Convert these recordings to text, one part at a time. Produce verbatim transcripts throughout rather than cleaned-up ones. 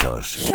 Efectos.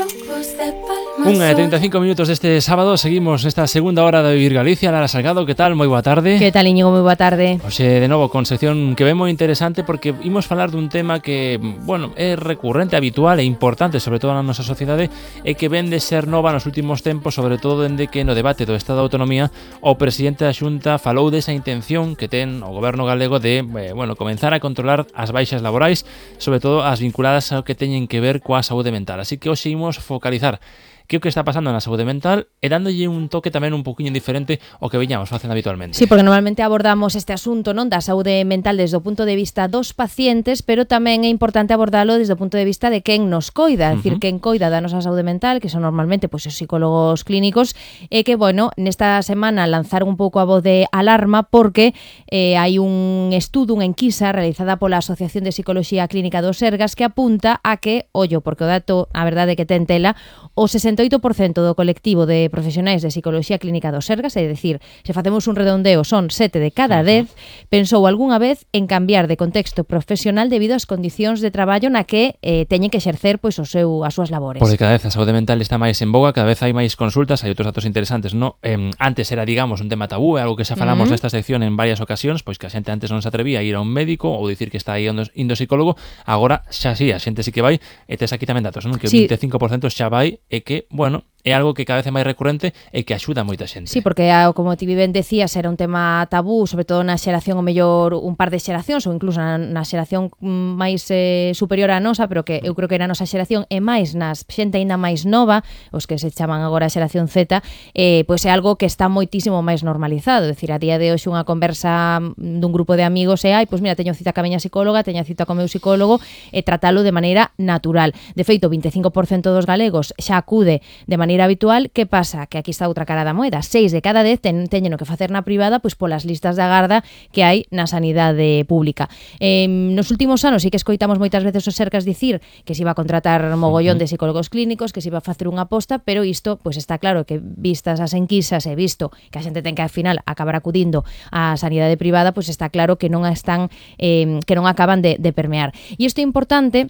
Unha e trinta e cinco minutos deste sábado. Seguimos esta segunda hora de Vivir Galicia. Lara Salgado, que tal? Moi boa tarde. Que tal, Íñigo? Moi boa tarde. Oxe, de novo, con sección que ve moi interesante, porque imos falar dun tema que, bueno, é recurrente, habitual e importante, sobre todo na nosa sociedade, e que ven de ser nova nos últimos tempos, sobre todo dende que no debate do Estado de Autonomía o presidente da Xunta falou desa intención que ten o goberno galego de, eh, bueno, comenzar a controlar as baixas laborais, sobre todo as vinculadas ao que teñen que ver coa saúde mental. Así que hoxe imos focalizar que o que está pasando na saúde mental e dándolle un toque tamén un poquinho diferente ao que veñamos facendo habitualmente. Sí, porque normalmente abordamos este asunto, non, da saúde mental desde o punto de vista dos pacientes, pero tamén é importante abordalo desde o punto de vista de quen nos coida, é dicir, uh-huh. quen coida da nosa saúde mental, que son normalmente pois, os psicólogos clínicos, e que, bueno, nesta semana lanzaron un pouco a voz de alarma porque eh, hai un estudo, unha enquisa realizada pola Asociación de Psicoloxía Clínica do Sergas que apunta a que, ollo, porque o dato, a verdade que ten tela, o sesenta e oito por cento do colectivo de profesionais de Psicoloxía Clínica do Sergas, é dicir, se facemos un redondeo son sete de cada dez, pensou algunha vez en cambiar de contexto profesional debido ás condicións de traballo na que eh, teñen que exercer pois o seu as súas labores. Porque cada vez a saúde mental está máis en boga, cada vez hai máis consultas, hai outros datos interesantes, no? Eh, antes era, digamos, un tema tabú, é algo que xa falamos uh-huh. nesta sección en varias ocasións, pois que a xente antes non se atrevía a ir a un médico ou dicir que está aí indo, indo psicólogo, agora xa sí, a xente sí que vai, e tes aquí tamén datos, non? Que o sí. vinte e cinco por cento xa vai e que, bueno, é algo que cada vez é máis recurrente e que axuda a moita xente. Sí, porque, como ti ben decías, era un tema tabú, sobre todo na xeración, o mellor un par de xeracións, ou incluso na, na xeración máis eh, superior á nosa, pero que eu creo que era a nosa xeración, e máis nas xente ainda máis nova, os que se chaman agora a xeración Z, eh, pois é algo que está moitísimo máis normalizado. É dicir, a día de hoxe unha conversa dun grupo de amigos e, ai, pois mira, teño cita ca miña psicóloga, teño cita co meu psicólogo, e tratalo de maneira natural. De feito, o vinte e cinco por cento dos galegos xa acude de maneira habitual. Que pasa? Que aquí está outra cara da moeda. Seis de cada dez ten, teñen o que facer na privada pois polas listas de agarda que hai na sanidade pública. Eh, nos últimos anos sí que escoitamos moitas veces os Sergas dicir que se iba a contratar mogollón de psicólogos clínicos, que se iba a facer unha aposta, pero isto pois está claro que vistas as enquisas e visto que a xente ten que ao final acabar acudindo á sanidade privada, pois está claro que non están eh, que non acaban de, de permear. E isto é importante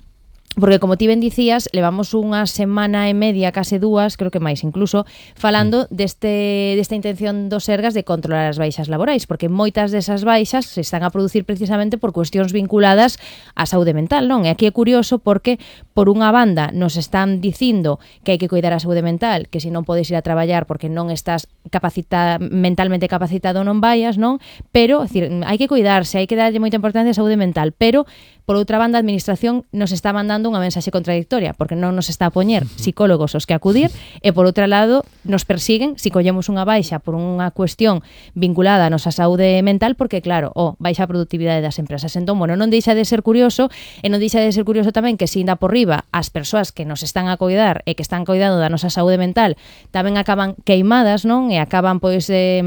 porque, como ti ben dicías, levamos unha semana e media, case dúas, creo que máis incluso, falando deste, desta intención dos Sergas de controlar as baixas laborais, porque moitas desas baixas se están a producir precisamente por cuestións vinculadas á saúde mental, non? E aquí é curioso porque, por unha banda, nos están dicindo que hai que cuidar a saúde mental, que se non podes ir a traballar porque non estás capacita, mentalmente capacitado non vayas, non? Pero, é dicir, hai que cuidarse, hai que darlle moita importancia á saúde mental, pero, por outra banda, a administración nos está mandando unha mensaxe contradictoria, porque non nos está a poñer psicólogos os que acudir, e por outro lado nos persiguen se collemos unha baixa por unha cuestión vinculada a nosa saúde mental, porque claro, oh, baixa a productividade das empresas. Entón, bueno, non deixa de ser curioso, e non deixa de ser curioso tamén que se inda por riba as persoas que nos están a coidar e que están coidando da nosa saúde mental tamén acaban queimadas, non? E acaban pois eh,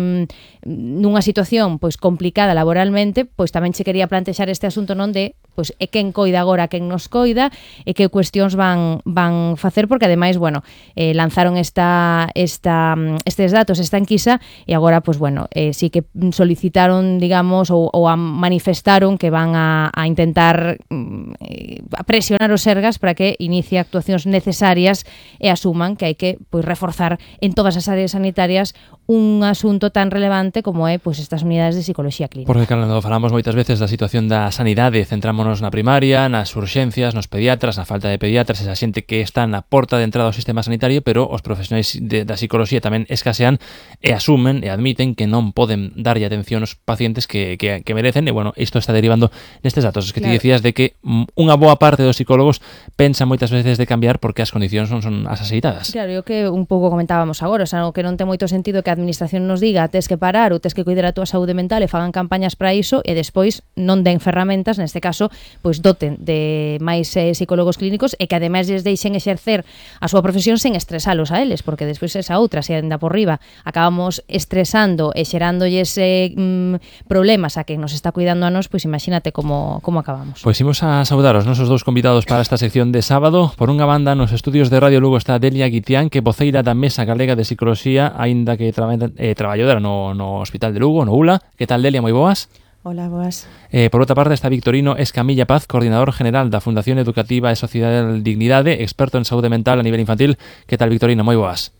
nunha situación pois complicada laboralmente, pois tamén che quería plantexar este asunto, non, de pois é quen coida agora, quen nos coida e que cuestións van van facer, porque ademais, bueno, eh, lanzaron esta esta estes datos, esta enquisa, e agora, pois bueno, eh, sí que solicitaron, digamos, ou, ou a manifestaron que van a, a intentar eh, a presionar os Sergas para que inicie actuacións necesarias e asuman que hai que pois reforzar en todas as áreas sanitarias un asunto tan relevante como é pois estas unidades de psicoloxía clínica. Porque, cando falamos moitas veces da situación da sanidade, centrámonos na primaria, nas urxencias, nos pediatras, na falta de pediatras, esa xente que está na porta de entrada ao sistema sanitario, pero os profesionais de, da psicoloxía tamén escasean e asumen e admiten que non poden darlle atención aos pacientes que, que, que merecen, e bueno, isto está derivando nestes datos. Es que claro, ti decías de que unha boa parte dos psicólogos pensan moitas veces de cambiar porque as condicións non son as axeitadas. Claro, eu que un pouco comentábamos agora, o sea, que non ten moito sentido que a administración nos diga tes que parar ou tes que cuidar a túa saúde mental e fagan campañas para iso e despois non den ferramentas, neste caso, pois doten de máis eh, psicólogos clínicos e que ademais lles deixen exercer a súa profesión sen estresalos a eles, porque despois esa outra, se anda por riba, acabamos estresando e xerándolle ese mm, problemas a que nos está cuidando a nós, pois imagínate como, como acabamos. Pois imos a saudar os nosos dous convidados para esta sección de sábado. Por unha banda, nos estudios de Radio Lugo está Delia Guitián, que voceira da Mesa Galega de Psicoloxía, aínda que tra eh, traballou no, no Hospital de Lugo, no U L A. Que tal, Delia? Moi boas? Hola, boas. Eh, por outra parte está Victorino Escamilla Paz, coordinador general da Fundación Educativa e Sociedade Dignidade, experto en saúde mental a nivel infantil. Que tal, Victorino? Moi boas.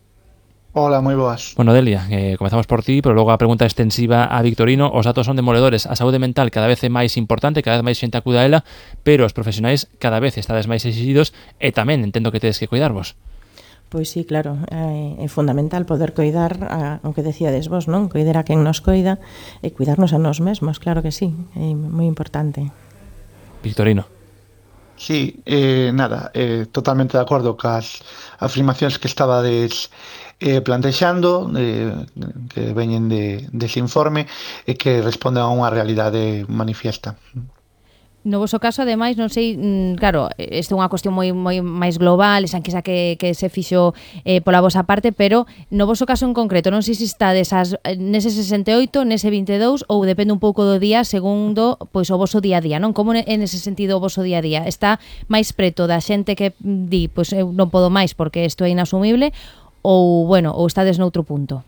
Hola, moi boas. Bueno, Delia, eh, comezamos por ti, pero logo a pregunta extensiva a Victorino. Os datos son demoledores. A saúde mental cada vez é máis importante, cada vez máis xente acuda a ela, pero os profesionais cada vez estades máis exigidos e tamén entendo que tedes que cuidarvos. Pois sí, claro, é, é fundamental poder coidar a, o que decíades vos, non? Coidar a quen nos coida e cuidarnos a nós mesmos, claro que sí, é moi importante. Victorino. Sí, eh, nada, eh, totalmente de acordo cas afirmacións que estabades eh, plantexando, eh, que veñen de, dese informe e que responden a unha realidade manifiesta. No voso caso, ademais, non sei, claro, isto é unha cuestión moi moi máis global, esa enquisa que, que se fixo eh, pola vosa parte, pero no voso caso en concreto, non sei se estades as, nese sesenta e oito, nese vinte e dous, ou depende un pouco do día, segundo pois o voso día a día, non? Como en ese sentido o voso día a día? Está máis preto da xente que di, pois eu non podo máis porque isto é inasumible, ou, bueno, ou estades noutro punto?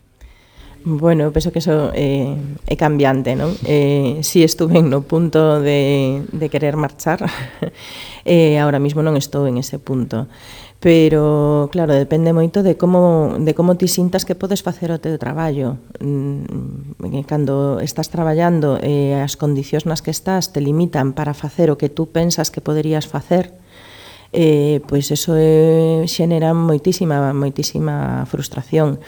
Bueno, eu penso que eso é, é cambiante, non? Eh, si estuve no punto de, de querer marchar, eh, ahora mismo non estou en ese punto. Pero, claro, depende moito de como, de como ti sintas que podes facer o teu traballo. Cando estás traballando e eh, as condicións nas que estás te limitan para facer o que tú pensas que poderías facer, Eh, pois eso eh, xenera moitísima, moitísima frustración,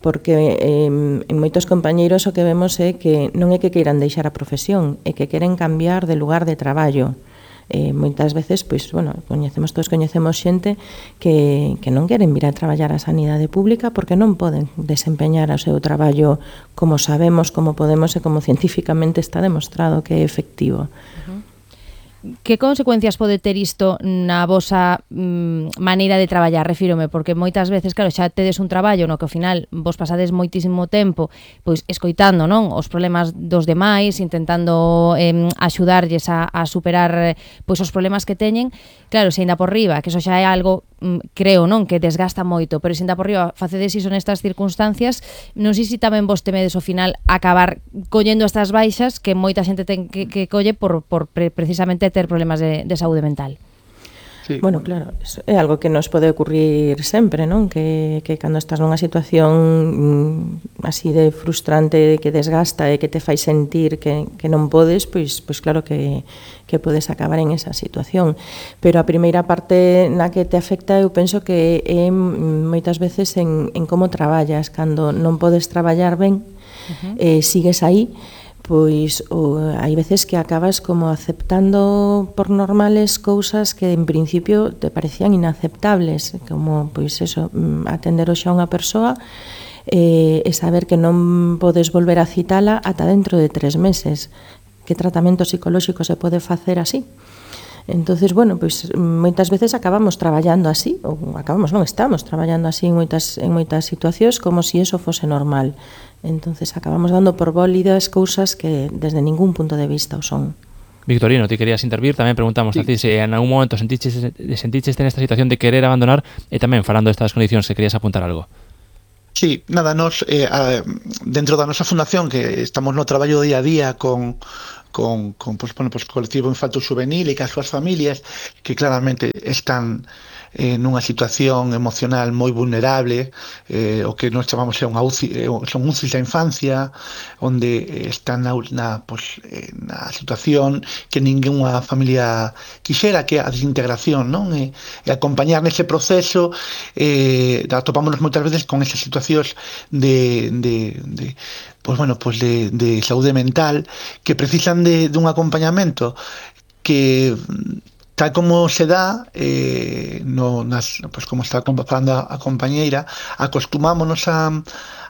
porque eh, en moitos compañeiros o que vemos é que non é que queiran deixar a profesión, é que queren cambiar de lugar de traballo. Eh, moitas veces, pois, bueno, coñecemos todos coñecemos xente que, que non queren vir a traballar a sanidade pública porque non poden desempeñar o seu traballo como sabemos, como podemos e como científicamente está demostrado que é efectivo. Uh-huh. Que consecuencias pode ter isto na vosa mm, maneira de traballar? Refírome, porque moitas veces, claro, xa tedes un traballo no que ao final vos pasades moitísimo tempo pois escoitando, non, os problemas dos demais, intentando eh, axudarlles a, a superar pois os problemas que teñen. Claro, se ainda por riba, que eso xa é algo, mm, creo, non, que desgasta moito, pero se ainda por riba facedes iso nestas circunstancias, non sei se tamén vos temedes ao final acabar collendo estas baixas que moita xente ten que, que colle por, por pre, precisamente ter problemas de, de saúde mental. Sí. Bueno, claro, é algo que nos pode ocurrir sempre, non? Que, que cando estás nunha situación mm, así de frustrante, que desgasta e que te fai sentir que, que non podes, pois, pois claro que, que podes acabar en esa situación. Pero a primeira parte na que te afecta eu penso que é moitas veces en, en como traballas. Cando non podes traballar ben, uh-huh. eh, sigues aí, pois o, hai veces que acabas como aceptando por normales cousas que en principio te parecían inaceptables, como pois eso, atender hoxe a unha persoa eh, e saber que non podes volver a citala ata dentro de tres meses. Que tratamento psicolóxico se pode facer así? Entonces, bueno, pois moitas veces acabamos traballando así, ou acabamos, non, estamos traballando así en moitas, en moitas situacións como se si eso fose normal. Entonces acabamos dando por válidas cousas que desde ningún punto de vista o son. Victorino, ti querías intervir, tamén preguntamos sí. a ti se en algún momento sentiches, sentiches nesta situación de querer abandonar e tamén falando destas condicións que querías apuntar algo. Sí, nada, nos eh, a, dentro da nosa fundación que estamos no traballo día a día con con, con pues, bueno, pues, colectivo infanto juvenil e cas súas familias que claramente están eh, nunha situación emocional moi vulnerable, eh, o que nós chamamos é unha U C I, eh, son U C Is da infancia, onde están na, na, pues, eh, na situación que ningunha familia quixera, que é a desintegración, non? E, e acompañar nese proceso, eh, atopámonos moitas veces con esas situacións de, de, de pues bueno, pues de, de saúde mental que precisan de, de un acompañamento que tal como se dá eh, no, nas, pues como está falando a, a compañeira, acostumámonos a,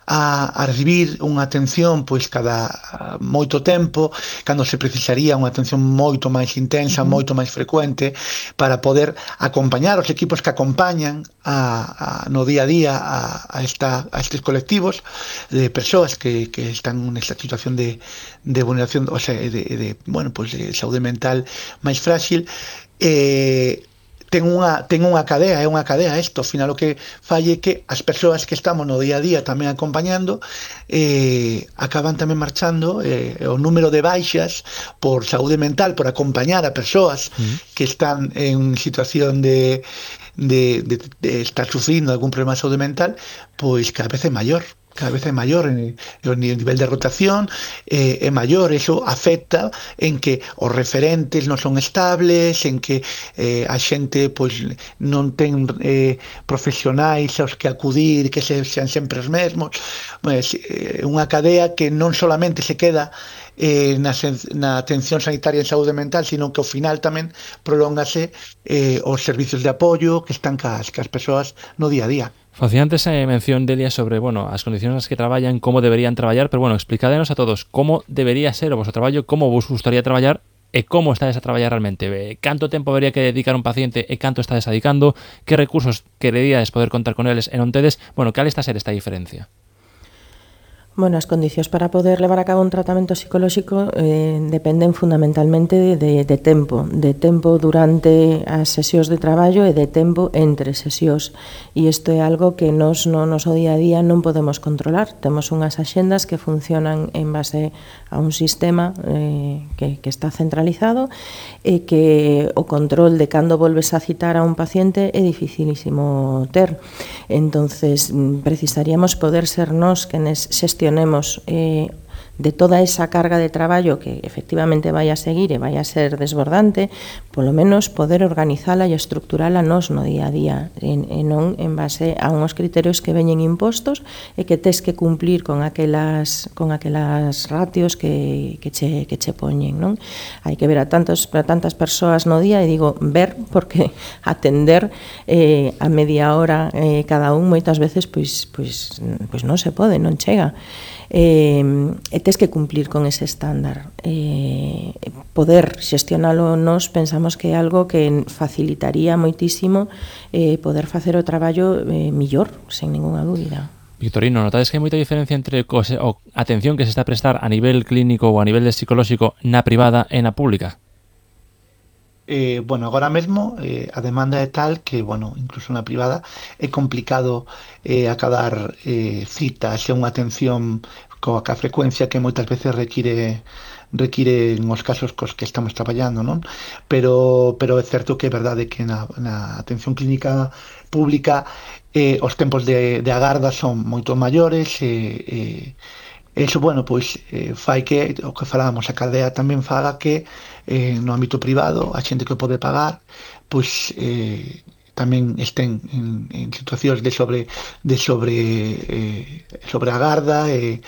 a, a recibir unha atención pois cada moito tempo, cando se precisaría unha atención moito máis intensa, uh-huh. moito máis frecuente, para poder acompañar os equipos que acompañan a, a, no día a día a, a, esta, a estes colectivos de persoas que, que están nesta situación de, de vulneración, o sea, de, de, bueno, pues de saúde mental máis frágil. Eh, ten unha, ten unha cadea, é unha cadea isto, ao final o que fai é que as persoas que estamos no día a día tamén acompañando eh, acaban tamén marchando, eh, o número de baixas por saúde mental, por acompañar a persoas mm. que están en situación de, de, de, de estar sufrindo algún problema de saúde mental, pois cada vez é maior. Cada vez é maior en, en nivel de rotación, eh, é maior, eso afecta en que os referentes non son estables, en que eh, a xente pois non ten eh, profesionais aos que acudir, que se, sean sempre os mesmos. Pues, eh, unha cadea que non solamente se queda eh, na, na atención sanitaria en saúde mental, sino que ao final tamén prolóngase eh, os servicios de apoio que están cas, cas persoas no día a día. Facía antes a mención, Delia, sobre, bueno, as condicións nas que traballan, como deberían traballar, pero, bueno, explicádenos a todos como debería ser o vosso traballo, como vos gustaría traballar e como estades a traballar realmente. Canto tempo debería que dedicar un paciente e canto estades dedicando, que recursos quereríades poder contar con eles e non tedes, bueno, cal está a ser esta diferencia? Bueno, as condicións para poder levar a cabo un tratamento psicolóxico eh, dependen fundamentalmente de, de, de tempo, de tempo durante as sesións de traballo e de tempo entre sesións. E isto é algo que nos no noso día a día non podemos controlar. Temos unhas axendas que funcionan en base a un sistema eh, que, que está centralizado e que o control de cando volves a citar a un paciente é dificilísimo ter. Entonces, precisaríamos poder ser nós que nes gestionemos eh, de toda esa carga de traballo que efectivamente vai a seguir e vai a ser desbordante, polo menos poder organizala e estructurala nos no día a día e, e non en base a unhos criterios que veñen impostos e que tes que cumplir con aquelas con aquelas ratios que, que, che, que che poñen, non? Hai que ver a, tantos, a tantas persoas no día e digo ver porque atender eh, a media hora eh, cada un moitas veces pois, pois, pois non se pode, non chega. Eh, e tes que cumplir con ese estándar. Eh, poder xestionalo nos pensamos que é algo que facilitaría moitísimo eh, poder facer o traballo eh, millor, sen ninguna dúbida. Victorino, notades que hai moita diferencia entre a atención que se está a prestar a nivel clínico ou a nivel de psicolóxico na privada e na pública? Eh, bueno, agora mesmo eh, a demanda é tal que, bueno, incluso na privada é complicado eh, acabar eh, citas e unha atención coa ca frecuencia que moitas veces require require nos casos cos que estamos traballando, non? Pero, pero é certo que é verdade que na, na atención clínica pública eh, os tempos de, de agarda son moito maiores e eh, eso, bueno, pois eh, fai que o que falábamos, a cadea tamén faga que eh, no ámbito privado a xente que pode pagar pois eh, tamén estén en, en situacións de sobre de sobre eh, sobre a garda e,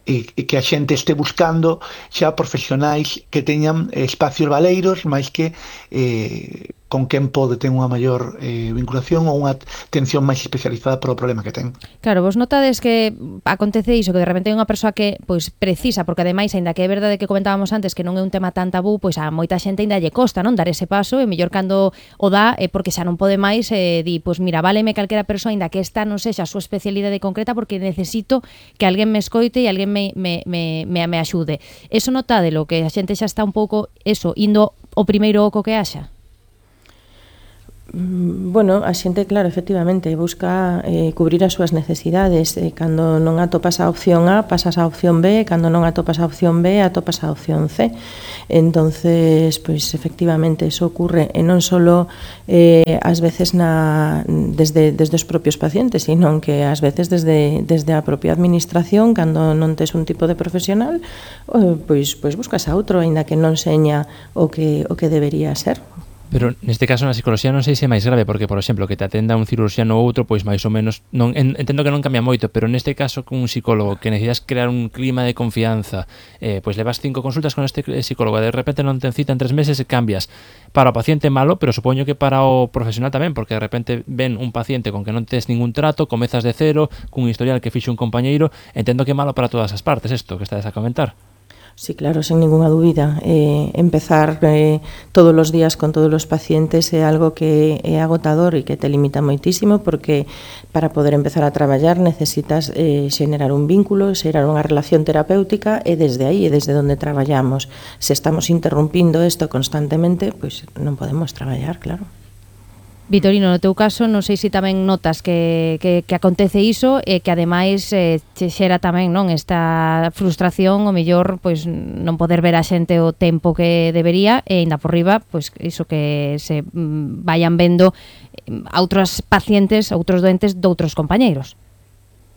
e, e que a xente este buscando xa profesionais que teñan espacios valeiros máis que eh, con quen pode ter unha maior eh, vinculación ou unha atención máis especializada para o problema que ten. Claro, vos notades que acontece iso, que de repente hai unha persoa que pois precisa, porque ademais, aínda que é verdade que comentábamos antes que non é un tema tan tabú, pois a moita xente aínda lle costa, non, dar ese paso, e mellor cando o dá é porque xa non pode máis, e di, pois mira, váleme calquera persoa, aínda que esta non sexa a súa especialidade concreta, porque necesito que alguén me escoite e alguén me, me, me, me, me axude. Eso notádelo, que a xente xa está un pouco, eso, indo o primeiro oco que haxa? Bueno, a xente, claro, efectivamente, busca eh, cubrir as súas necesidades. Eh, cando non atopas a opción A, pasas a opción B, cando non atopas a opción B, atopas a opción C. Entonces, pois, efectivamente, eso ocurre, e non só eh, ás veces na, desde, desde os propios pacientes, sino que ás veces desde, desde a propia administración, cando non tes un tipo de profesional, eh, pois, pois buscas a outro, aínda que non seña o que, o que debería ser. Pero neste caso na psicología non sei se é máis grave, porque, por exemplo, que te atenda un cirurxiano ou outro, pois máis ou menos, non entendo que non cambia moito, pero neste caso con un psicólogo que necesitas crear un clima de confianza, eh, pois levas cinco consultas con este psicólogo, de repente non te cita en tres meses e cambias. Para o paciente malo, pero supoño que para o profesional tamén, porque de repente ven un paciente con que non tes ningún trato, comezas de cero, cun historial que fixo un compañeiro, entendo que é malo para todas as partes isto que estades a comentar. Sí, claro, sin ninguna dúbida. Eh, empezar eh, todos os días con todos os pacientes é algo que é agotador e que te limita moitísimo, porque para poder empezar a traballar necesitas eh, xenerar un vínculo, xenerar unha relación terapéutica, e desde aí, e desde onde traballamos. Se estamos interrumpindo isto constantemente, pois non podemos traballar, claro. Vitorino, no teu caso, non sei se tamén notas que, que, que acontece iso e que ademais eh, che xera tamén non esta frustración, o mellor pois non poder ver a xente o tempo que debería e ainda por riba, pois iso que se mm, vayan vendo a outros pacientes, outros doentes doutros compañeiros.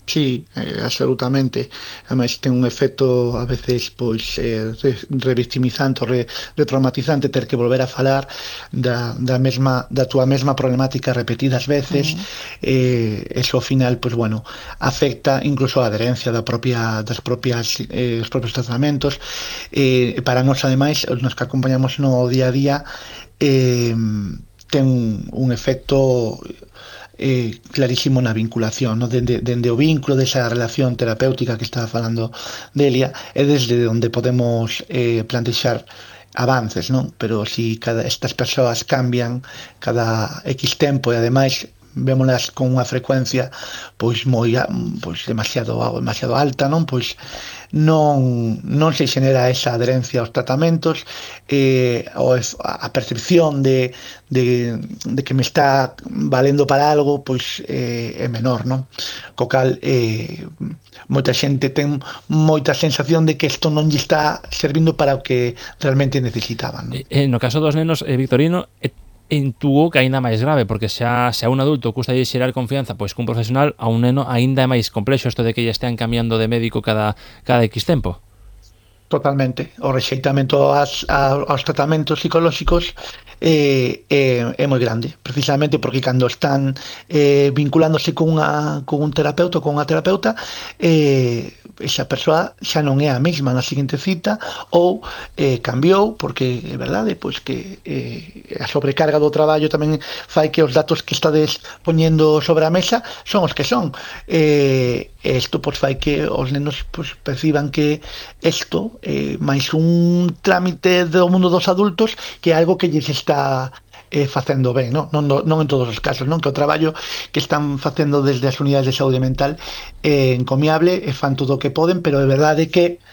Sí, eh, absolutamente. Ademais ten un efecto a veces pois eh, revictimizante, re, retraumatizante ter que volver a falar da, da mesma da túa mesma problemática repetidas veces. Uh-huh. eh, eso ao final, pois bueno, afecta incluso a adherencia da propia das propias eh, os propios tratamentos. Eh, para nós ademais, nos que acompañamos no día a día, eh, ten un efecto Eh, clarísimo na vinculación, ¿no? dende, dende o vínculo desa relación terapéutica que estaba falando Delia, é desde onde podemos eh, plantexar avances, non? Pero si cada estas persoas cambian cada X tempo e ademais vémolas con unha frecuencia pois moi pois demasiado demasiado alta, non? Pois non non se xenera esa adherencia aos tratamentos, eh, ou a percepción de, de, de que me está valendo para algo pois eh, é menor, non? Co cal eh, moita xente ten moita sensación de que isto non lle está servindo para o que realmente necesitaban, non? Eh, no caso dos nenos, eh, Victorino, eh, intuo que aínda máis grave, porque xa se a un adulto custa lle xerar confianza pois cun profesional, a un neno aínda é máis complexo isto de que lle estean cambiando de médico cada, cada X tempo. Totalmente. O rexeitamento aos, aos tratamentos psicolóxicos é, é, é moi grande, precisamente porque cando están eh, vinculándose con, unha, con un terapeuta ou con unha terapeuta, eh, esa persoa xa non é a mesma na seguinte cita ou eh, cambiou, porque é verdade pois que eh, a sobrecarga do traballo tamén fai que os datos que estades poñendo sobre a mesa son os que son. Eh, isto pois fai que os nenos pois, perciban que isto é máis un trámite do mundo dos adultos que é algo que lles está eh, facendo ben, non? Non, non en todos os casos, non? Que o traballo que están facendo desde as unidades de saúde mental é encomiable, e fan todo o que poden, pero é verdade que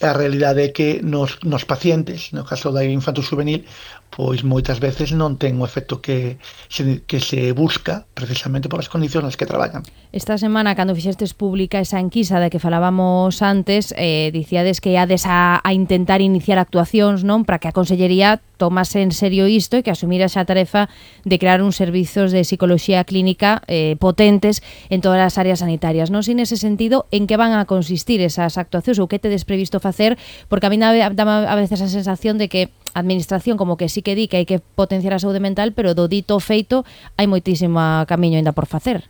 a realidade é que nos, nos pacientes, no caso da infanto juvenil, pois moitas veces non ten o efecto que se, que se busca precisamente por as condicións nas que traballan. Esta semana, cando fixestes pública esa enquisa da que falábamos antes, eh, dicíades que iades a, a intentar iniciar actuacións, non, para que a Consellería tomase en serio isto e que asumira esa tarefa de crear uns servizos de psicología clínica eh, potentes en todas as áreas sanitarias. Non sei nese sentido en que van a consistir esas actuacións ou que tedes previsto facer, porque a mí dá a veces a sensación de que a administración como que sí que di que hai que potenciar a saúde mental, pero do dito feito hai moitísimo camiño ainda por facer.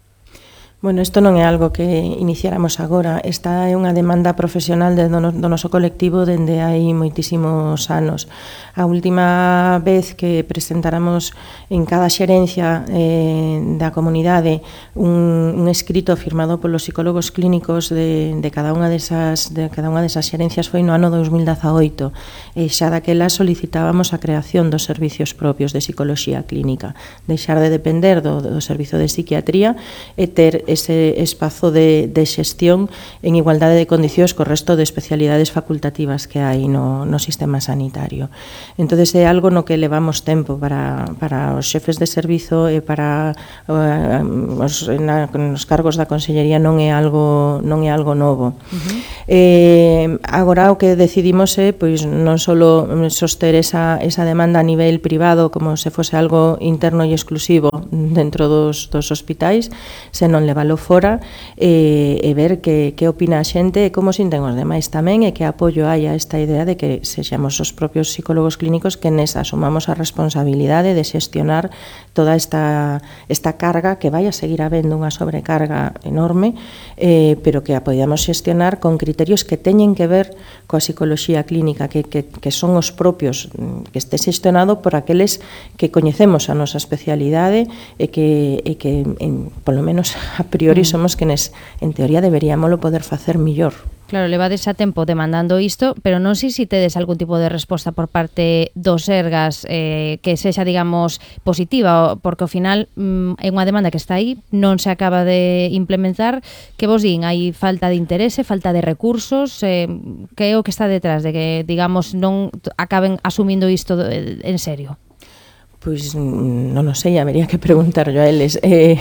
Bueno, isto non é algo que iniciáramos agora. Esta é unha demanda profesional do, no, do noso colectivo dende hai moitísimos anos. A última vez que presentáramos en cada xerencia eh, da comunidade un, un escrito firmado polos psicólogos clínicos de, de cada unha desas de cada unha desas xerencias foi no ano dos mil dezaoito. E xa daquela solicitábamos a creación dos servicios propios de psicoloxía clínica, deixar de depender do, do servizo de psiquiatría e ter ese espazo de, de xestión en igualdade de condicións co resto de especialidades facultativas que hai no, no sistema sanitario. Entón, é algo no que levamos tempo para, para os xefes de servizo e para uh, os, na, nos cargos da Consellería non é algo, non é algo novo. Uh-huh. Eh, agora o que decidimos é pois, non só soster esa, esa demanda a nivel privado como se fose algo interno e exclusivo dentro dos, dos hospitais, senón levar levalo fora e, e ver que, que opina a xente e como sinten os demais tamén e que apoio hai a esta idea de que sexamos os propios psicólogos clínicos que nes asumamos a responsabilidade de xestionar toda esta, esta carga que vai a seguir habendo unha sobrecarga enorme, eh, pero que a podamos xestionar con criterios que teñen que ver coa psicoloxía clínica, que, que, que son os propios, que este xestionado por aqueles que coñecemos a nosa especialidade e que, e que en, polo menos a priori somos quenes en teoría deberíamoslo poder facer millor. Claro, levades a tempo demandando isto, pero non sei se tedes algún tipo de resposta por parte dos Sergas eh, que sexa, digamos, positiva, porque ao final mm, é unha demanda que está aí, non se acaba de implementar. Que vos din? Hai falta de interese, falta de recursos? Eh, que é o que está detrás de que, digamos, non acaben asumindo isto en serio? Pois non o sei, habería que preguntarlo a eles. Eh,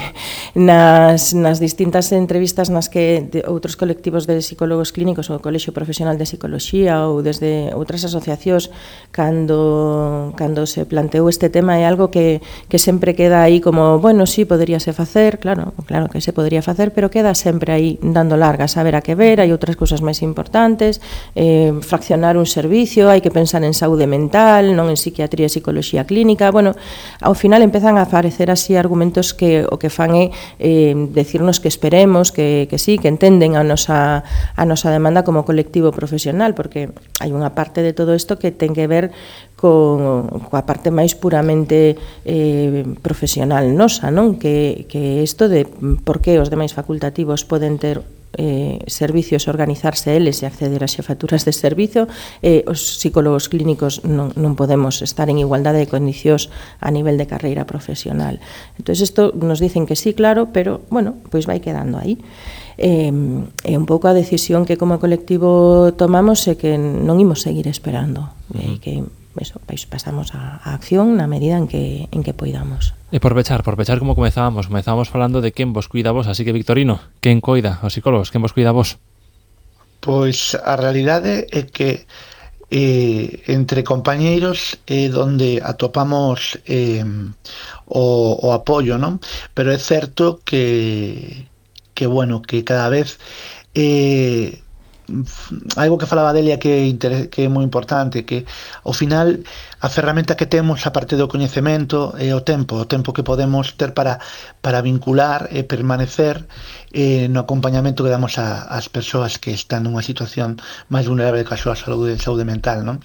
nas, nas distintas entrevistas nas que de outros colectivos de psicólogos clínicos ou o Colexio Profesional de Psicoloxía ou desde outras asociacións, cando, cando se planteou este tema é algo que, que sempre queda aí como, bueno, sí, poderíase facer, claro, claro que se podría facer, pero queda sempre aí dando largas, a ver a que ver, hai outras cousas máis importantes, eh, fraccionar un servicio, hai que pensar en saúde mental, non en psiquiatría e psicoloxía clínica, bueno, ao final empezan a aparecer así argumentos que o que fan é eh, decirnos que esperemos, que, que sí, que entenden a nosa, a nosa demanda como colectivo profesional, porque hai unha parte de todo isto que ten que ver con, coa parte máis puramente eh, profesional nosa, non? Que, que isto de por que os demais facultativos poden ter eh, servicios, organizarse eles e acceder a xefaturas de servizo, eh, os psicólogos clínicos non, non podemos estar en igualdade de condicións a nivel de carreira profesional. Entón, isto nos dicen que sí, claro, pero, bueno, pois vai quedando aí. Eh, é un pouco a decisión que como colectivo tomamos é que non imos seguir esperando, uh-huh. eh, que eso, pois pasamos a, a acción na medida en que, en que poidamos. E por pechar, por pechar como comezábamos, comezábamos falando de quen vos cuida vos, así que Victorino, quen coida os psicólogos, quen vos cuida vos? Pois a realidade é que eh, entre compañeiros é eh, donde atopamos eh, o, o apoio, non? Pero é certo que, que bueno, que cada vez eh, algo que falaba Delia que é, que é moi importante, que ao final a ferramenta que temos a parte do coñecemento é o tempo, o tempo que podemos ter para, para vincular e permanecer eh, no acompañamento que damos a, as persoas que están nunha situación máis vulnerable que a súa saúde, saúde mental, non?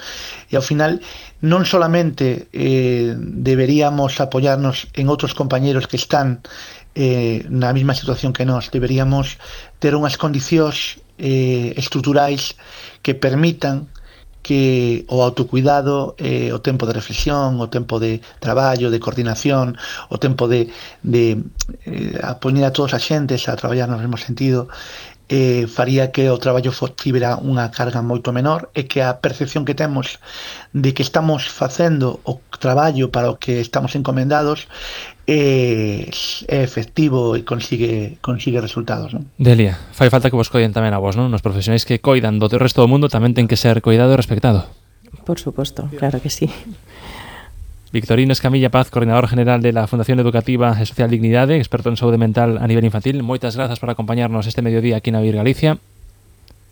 E ao final non solamente eh, deberíamos apoiarnos en outros compañeros que están eh, na mesma situación que nós, deberíamos ter unhas condicións eh, estruturais que permitan que o autocuidado, eh, o tempo de reflexión, o tempo de traballo, de coordinación, o tempo de, de eh, a poñer a todos as xentes a traballar no mesmo sentido, eh, faría que o traballo tivera unha carga moito menor e que a percepción que temos de que estamos facendo o traballo para o que estamos encomendados é, é efectivo e consigue, consigue resultados, non? Delia, fai falta que vos coiden tamén a vos, non? Nos profesionais que coidan do resto do mundo tamén ten que ser coidado e respectado. Por suposto, claro que sí. Victorino Escamilla Paz, coordinador general de la Fundación Educativa e Social Dignidade, experto en saúde mental a nivel infantil. Moitas grazas por acompañarnos este mediodía aquí na Vir Galicia.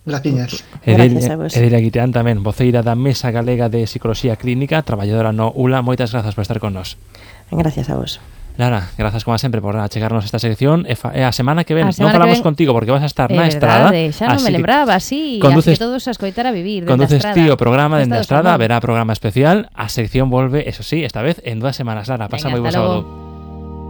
Gracias. Gracias a vos. Edelia Guiteán tamén, voceira da Mesa Galega de Psicoloxía Clínica, traballadora no U L A. Moitas grazas por estar con nos. Gracias a vos. Lara, grazas como sempre por achegarnos esta sección e, fa, e a semana que ven non falamos ven... contigo porque vas a estar é na estrada. Xa non me lembraba, sí, conduces, así que todos a escoitar a vivir. Conduces ti o programa dende a estrada, verá programa especial, a sección volve, eso sí, esta vez en dúas semanas. Lara, pasa moi bo sábado.